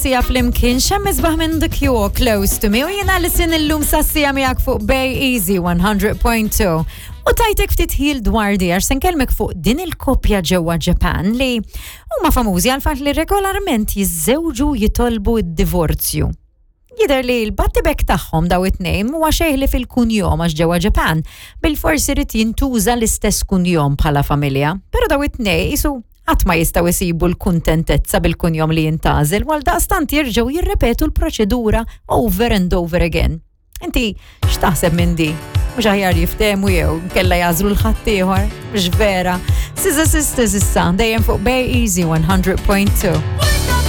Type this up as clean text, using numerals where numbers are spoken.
sija flimkien xemm isbaħ minn The Cure Close to Me u jiena li sin illum sassija miegħek fuq Bay Easy 100.2. U tajtek ftit ħil dwar di għax se nkellmek fuq din il-koppja ġewwa Japan li huma famużi għal fatt li regolarment jiżżewġu jitolbu d-divorzju. Jidher li l-battibek tagħhom daw it-tnejn huwa xejn li fil-kunjom għax ġewwa Ġapan bil-forsi rid jintuża l-istess kunjom bħala familja, però daw it-tnejn isu qatt ma jistgħu jsibu l-kuntentezza bil-kunjom li jintgħażel għal daqstant jerġgħu jirrepetu l-proċedura over and over again. Inti x'taħseb minn di? Mhux aħjar jiftehmu jew kella jażlu l-ħaddieħor, mhux vera. Siza Sisters issa dejjem fuq Bay Easy 100.2.